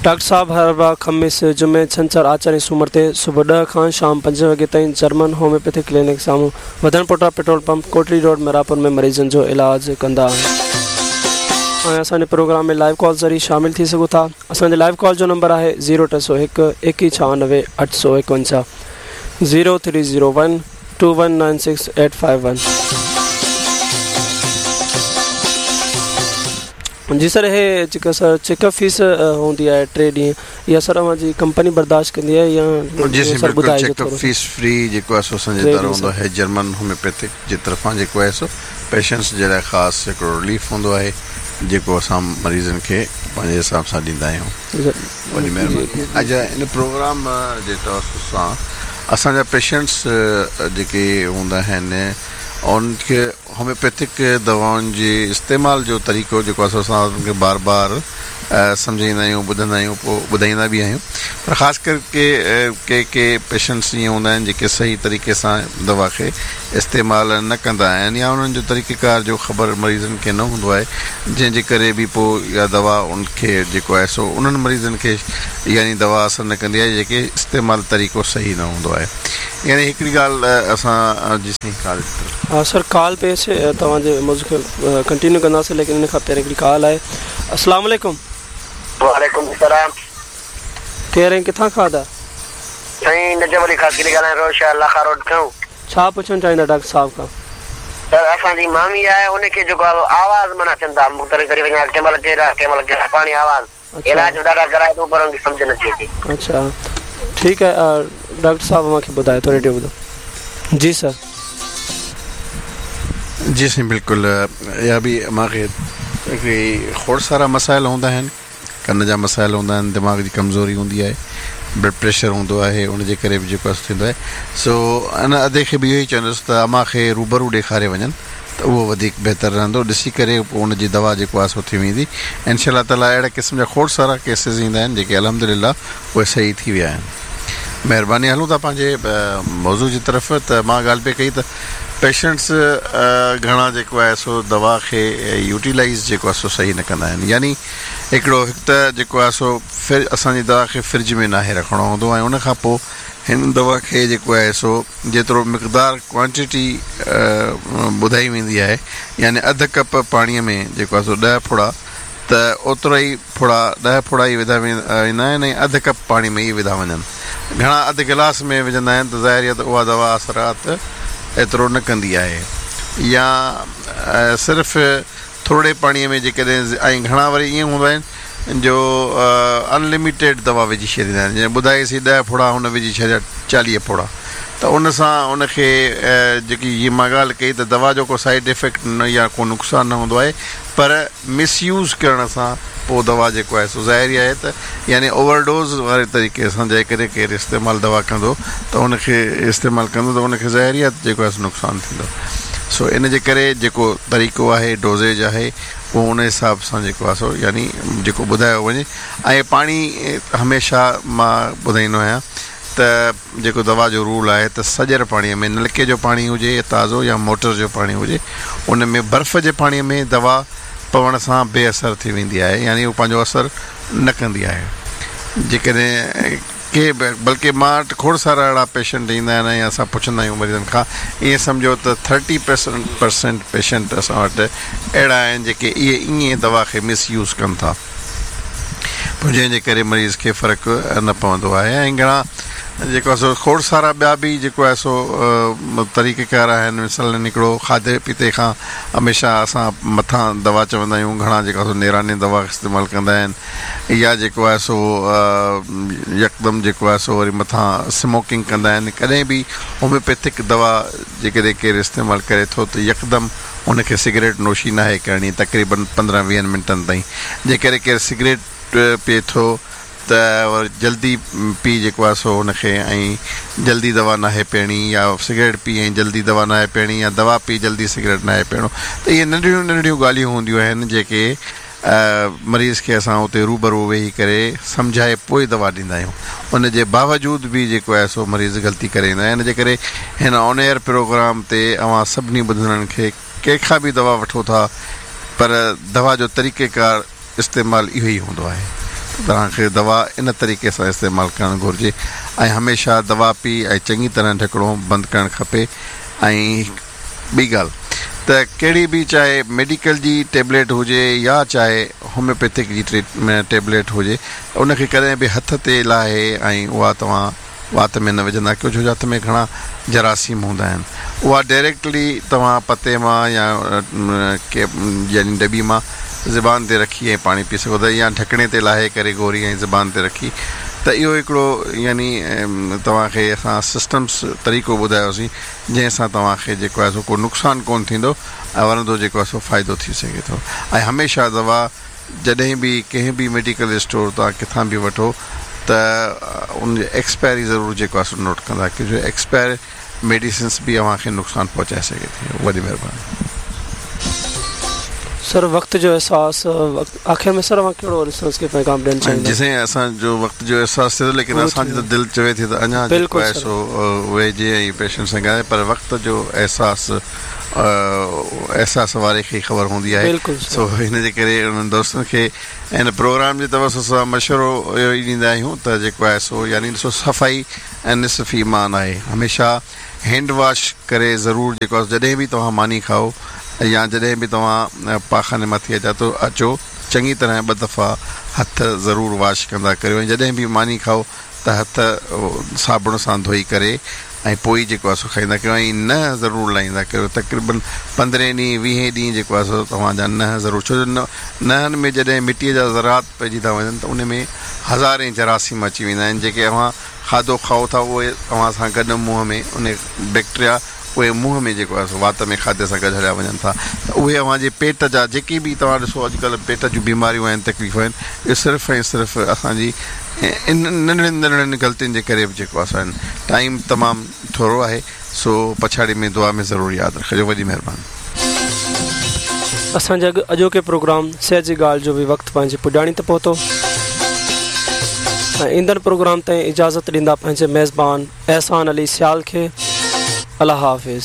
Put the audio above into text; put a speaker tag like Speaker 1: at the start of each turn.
Speaker 1: Doctor صاحب هر اربع، خميس، جمعي، ڇنڇر، آچر ۽ سومر تي صبح 10 کان شام 5 وڳي تائين جرمن هوميوپيٿڪ ڪلينڪ سامهون وڌڻ پوٽا petrol pump Kotri road Mehrabpur ۾ مريضن جو علاج ڪندا آهن. اوهين اسان جي پروگرام ۾ لائيو ڪال ذريعي شامل ٿي سگهو ٿا. اسان جي لائيو ڪال جو نمبر آهي zero 301 2196 851 zero three zero one two one nine six eight five one. جي سر هي جيڪا سر چيڪ اپ فيس هوندي آهي 3 ڏينهن اها سر اوهان جي ڪمپني برداشت ڪندي آهي يا
Speaker 2: جي سائين
Speaker 1: سر
Speaker 2: بلڪل
Speaker 1: ٻڌائجو
Speaker 2: چيڪ اپ
Speaker 1: ٿورو
Speaker 2: فيس فري جيڪو آهي سو اسان جي
Speaker 1: ٽي
Speaker 2: ادارو
Speaker 1: ڏينهن
Speaker 2: هوندو
Speaker 1: سر
Speaker 2: آهي جرمن هوميوپيٿڪ جي طرفان جيڪو آهي سو پيشنٽس جي لاء خاص هڪڙو رليف هوندو آهي جيڪو اسان مريضن کي پنهنجي حساب سان ڏيندا آهيون وڏي مهرباني اڇا ان پروگرام جي توسط سان اسان جا پيشنٽس جيڪي هوندا آهن انهن کي هوميوپيٿڪ دوائن جي استعمال جو طريقو جيڪو آهي سو اسان انهن کي بار بار سمجهائيندا آهيون ٻڌندا آهيون پوء ٻڌائيندا به آهيون پر خاص ڪر ڪي ڪي ڪي پيشنٽس ائين هوندا آهن جيڪي صحيح طريقي سان دوا کي استعمال نه ڪندا آهن يا انهن جو طريقي ڪار جو خبر مريضن کي نه هوندو آهي جنهن جي ڪري به پوء اها دوا ان کي جيڪو آهي سو انهن مريضن کي يعني دوا اثر نه ڪندي آهي جيڪي استعمال طريقو صحيح نه هوندو آهي يعني هڪڙي ڳالهه اسان جي سائين ڪال جي طرف.
Speaker 1: ها سر ڪال پئي اچي توهان جي موضوع کي ڪنٽينيو ڪنداسين ليڪن ان کان پهرين هڪڙي ڪال آهي السلام عليڪم.
Speaker 3: وعليڪم السلام.
Speaker 1: ڪير ۽ ڪٿان کان ادا؟
Speaker 3: سائين نجف علي خاصخيلي ڳالهايان ٿو شهر لاکا روڊ کان.
Speaker 1: ڇا پڇڻ چاهيندا ڊاڪٽر صاحب کان؟
Speaker 3: سر اسان جي مامي آهي ان کي جيڪو آهي آواز معنيٰ اچن ٿا مختلف غريب اڃا ڪنهن مهل ڪهڙا ڪنهن مهل ڪهڙا پاڻي آواز علاج به ڏاڍا ڪرائي ٿو پر ان کي سمجهه نٿي اچي.
Speaker 1: اڇا ٺيڪ آهي ڊاڪٽر صاحب اوهان کي ٻڌائي ٿو ريڊيو ٻڌو جي سر.
Speaker 2: جي سائين بلڪل اها به مان کي هڪڙي کوڙ سارا مسائل هوندا آهن ڪن جا مسائل هوندا آهن دماغ جي ڪمزوري هوندي آهي بلڊ پريشر هوندو آهي ان جي ڪري به جيڪو آهي ٿيندو آهي سو ان ادي کي به اهو ئي چوندس ته امان کي روبرو ڏيکاري وڃن ته اهو وڌيڪ بهتر رهندو ڏسي ڪري پوء ان جي دوا جيڪو آهي سو ٿي ويندي انشاء الله تعالي اهڙي قسم جا کوڙ سارا ڪيسز ايندا آهن جيڪي الحمد لله اهي صحيح ٿي ويا آهن مهرباني هلون ٿا پنهنجي موضوع جي طرف ته مان ڳالهه پئي ڪئي ته پيشنٽس گهڻا جيڪو آهي سو دوا کي يوٽيلائيز جيڪو آهي سو صحيح نه ڪندا آهن يعني هڪڙو هڪ ته جيڪو آهي سو اسان جي دوا کي فرج ۾ ناهي رکڻو هوندو ۽ ان کان پوء هن دوا کي جيڪو آهي سو جيترو مقدار Quantity ٻڌائي ويندي آهي يعني اڌ ڪپ پاڻي ۾ جيڪو آهي سو 10 ڦڙا ته اوترا ئي ڦڙا 10 ڦڙا ئي وڌا ويندا آهن ۽ اڌ ڪپ پاڻي ۾ ئي وڌا وڃن گهڻا اڌ گلاس ۾ وجهندا آهن ته ظاهر آهي ته اها دوا اثرات ايترو نه ڪندي آهي يا صرف ٿورڙي پاڻي ۾ جيڪڏهن ۽ گهڻا وري ائين هوندا آهن جو ان لميٽيڊ دوا وجهي ڇڏيندا آهن جيئن ٻڌائيسين 10 ڦڙا هن وجهي ڇڏيا 40 ڦڙا ته ان سان ان کي جيڪي هي مان ڳالهه ڪئي ته دوا جو ڪو سائيڊ افيڪٽ نه يا ڪو نقصان نه هوندو آهي پر مس يوز ڪرڻ سان پوء دوا جيڪو آهي سو ظاهر ئي آهي ته يعني اوور ڊوز واري طريقي سان جيڪڏهن ڪير استعمال دوا ڪندو ته ان کي استعمال ڪندو ته ان کي ظاهر ئي آهي ته جيڪو آهي سو نقصان ٿيندو سو ان جي ڪري جيڪو طريقو آهي ڊوزيج آهي اهو ان حساب سان جيڪو آهي سو يعني جيڪو ٻڌايو وڃي ۽ پاڻي هميشه مان ٻڌائيندو آهيان ته جيڪو دوا جو رول آهي ته سڄر پاڻي ۾ نلڪي جو پاڻي هجي تازو يا موٽر جو پاڻي هجي ان ۾ برف جي پاڻي ۾ دوا پوڻ سان بي اثر ٿي ويندي آهي يعني اهو پنهنجو اثر نه ڪندي آهي جيڪڏهن ڪي به بلڪه مان وٽ کوڙ سارا اهڙا پيشنٽ ايندا آهن ۽ اسان پڇندا آهيون مريضن کان ائين سمجهو ته ٿرٽي پرسنٽ پيشنٽ اسان وٽ اهڙا آهن جيڪي اهي ائين دوا کي مس يوز ڪن ٿا پوء جنهن جي ڪري مريض کي فرق نه پوندو آهي ۽ گهڻا جيڪو آهي سو کوڙ سارا ٻيا به جيڪو آهي سو طريقه ڪار آهن مثلاً هڪڙو کاڌي پيتي کان هميشه اسان مٿان دوا چوندا آهيون گهڻا جيڪو آهي سو نيراني دوا استعمال ڪندا آهن يا جيڪو آهي سو يڪدم جيڪو آهي سو وري مٿان سموڪنگ ڪندا آهن ڪڏهن به هوميوپيٿڪ دوا جيڪڏهن ڪير استعمال ڪري ٿو ته يڪدم ان کي سگريٽ نوشي ناهي ڪرڻي تقريبن 15 20 منٽن تائين جيڪڏهن ڪير سگريٽ پئي ٿو ته وري جلدي پي جيڪو آهي سو ان کي ۽ جلدي دوا ناهي پيئڻي يا سگريٽ پي ۽ جلدي دوا ناهي پيئڻي يا دوا پي جلدي سگريٽ ناهي پيئڻو ته اهي ننڍڙيون ننڍڙيون ڳالهيون هونديون آهن جيڪي مريض کي اسان اتي روبرو ويهي ڪري سمجهائي پوء دوا ڏيندا آهيون ان جي باوجود به جيڪو آهي سو مريض غلطي ڪري ويندا آهن ان جي ڪري هن آن ايئر پروگرام تي اوهان سڀني ٻڌندڙن کي ڪنهن کان به دوا وٺو ٿا پر دوا جو طريقه ڪار استعمال اهو ئي هوندو آهي توهان کي دوا ان طريقي سان استعمال ڪرڻ گهرجي ۽ هميشه دوا پي ۽ چڱي طرح ڍڪڻو بند ڪرڻ کپي ۽ ٻي ڳالهه ته ڪهڙي به چاهي ميڊيڪل جي ٽيبليٽ هجي يا چاهي هوميوپيٿڪ جي ٽيبليٽ هجي ان کي ڪڏهن به هٿ تي لاهي ۽ اها توهان وات ۾ نه وجهندا ڪيو ڇو جو هٿ ۾ گهڻا جراثيم هوندا آهن اها ڊائريڪٽلي توهان پتي مان يا يعني ڊٻي مان زبان تي رکي ۽ پاڻي پي سگهو ٿا يا ڍڪڻي تي لاهي ڪري گوري ۽ زبان تي رکي ته اهو هڪڙو يعني توهان کي اسان سسٽمس طريقو ٻڌايوسين جنهن سان توهان کي جيڪو آهي سو ڪو نقصان ڪونه ٿيندو ۽ ورندو جيڪو آهي سو فائدو ٿي سگهي ٿو ۽ هميشه دوا جڏهن به ڪنهن به ميڊيڪل اسٽور تان ڪٿان به وٺو ته ان جي ايڪسپائري ضرور جيڪو آهي سو نوٽ ڪندا ڪيو جو ايڪسپائر ميڊيسنس به اوهان کي نقصان پهچائي سگهي ٿي وڏي مهرباني.
Speaker 1: سر وقت جو احساس آخر ۾ سر اوهان ڪهڙو لسنرز کي پيغام ڏيڻ چاهيندا.
Speaker 2: جي سائين اسان جو وقت جو احساس ٿئي ٿو ليڪن اسان جي ته دل چوي ٿي ته اڃا جيڪو آهي سو ويهجي ۽ پيشنٽ سان ڳالهائي پر وقت جو احساس احساس واري کي ئي خبر هوندي آهي سو ان جي ڪري انهن دوستن کي ان پروگرام جي توسط سان مشورو اهو ئي ڏيندا آهيون ته جيڪو آهي سو يعني ڏسو صفائي ۽ نصف ايمان آهي هميشه هينڊ واش ڪري ضرور جيڪو آهي جڏهن به توهان ماني کائو يا جڏهن به توهان پاخاني مان ٿي اچا ته اچو چڱي طرح ٻه دفعا هٿ ضرور واش ڪندا ڪريو ۽ جڏهن به ماني کائو ته هٿ صابڻ سان ڌوئي ڪري ۽ پوء ئي جيڪو آهي سو کائيندا ڪريو ۽ ننهن ضرور لاهيندا ڪريو تقريبن پندرهين ڏينهن ويهين ڏينهن جيڪو آهي سو توهان جا ننهن ضرور ڇو جو ننهن ۾ جڏهن مٽيء جا ذرات پئجي ٿا وڃن ته ان ۾ هزارين جراثيم اچي ويندا آهن جيڪي اوهان کاڌو کائو ٿا اهي اوهان سان گڏ منهن ۾ ان بيڪٽريا اهي منهن ۾ جيڪو آهي سو وات ۾ کاڌي سان گڏ هليا وڃن ٿا ته اهي اوهان جي پيٽ جا جيڪي به توهان ڏسو اڄڪلهه پيٽ جون بيماريون آهن تڪليفون آهن اهي صرف ۽ صرف اسان جي انهن ننڍڙين ننڍڙين غلطين جي ڪري به جيڪو آهي سو آهن ٽائيم تمام ٿورو آهي سو پڇاڙي ۾ دعا ۾ ضرور ياد رکجو وڏي مهرباني.
Speaker 1: اسان جي اڄوڪي پروگرام صحت جي ڳالهه جو به وقت پنهنجي پڄاڻي تي پهتو ۽ ايندڙ پروگرام تائين اجازت ڏيندا پنهنجي ميزبان احسان علي سيال کي الله حافظ.